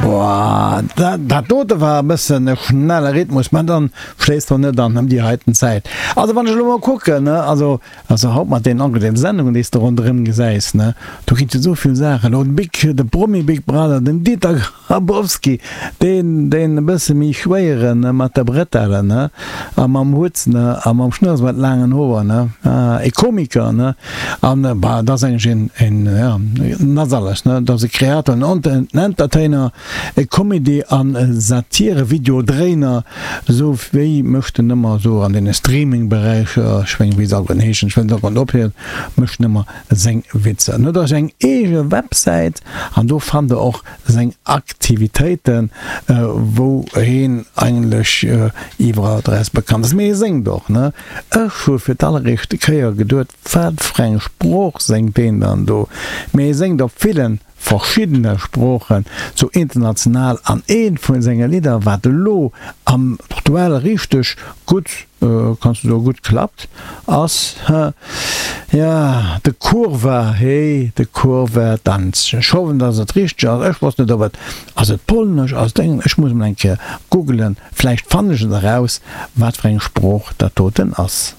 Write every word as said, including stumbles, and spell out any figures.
Boah, dat, dat dote war e bëssen e schnelle Rhythmus, mä dann schléisst och net an ëm déi heiten Zäit. Also wann ech elo mol kucken, ne, also, also haut mat deenen angenehmen Sendungen, déi s de ronderëm gesäis, ne, do ginn et jo esou vill Saachen. Elo de Big, de Promi Big Brother, den Dieter Grabowski, deen, deen e bësse méi schwéieren, ne, mat der Bretelle, ne, a mam Hutt, ne, a mam Schnurrs mat laangen Hoer, ne, ah, e Komiker, ne, an, bah, dat ass eigentlech een, een, ja, en ass alles, ne, dat ass e Kreator, en Entertainer, e Comedy an Satire-Video-Dréiner, esou wéi mécht en ëmmer esou an deene Streaming-Beräicher, ech mengen, wéi se alleguerten heeschen, ech wëll se alleguerten opzielen, mécht en ëmmer seng Witzer. En huet och seng eege Websäit an do fannt der och seng Aktivitéiten, wou heen eigentlech iwwerall drausse bekannt ass. Mee hie séngt och, ne? Ech hu fir d'alleréischte Kéier geduet, wat fir eng Sprooch séngt deen dann do? Mee hie séngt op villen verschiddene Sproochen, sou international, an eent vu senge Lidder, wat elo am aktuell richteg gutt, kanns du soen, gutt klappt, ass, jo, de Kurwa, hey, de Kurwa Tanz. Ech hoffen, dass et richteg ass. Ech wosst net, ob et, ass et polnesch, ass et englesch, ech muss emol eng Kéier googelen, vläicht fannen ech et eraus, wat fir eng Sprooch dat doten ass.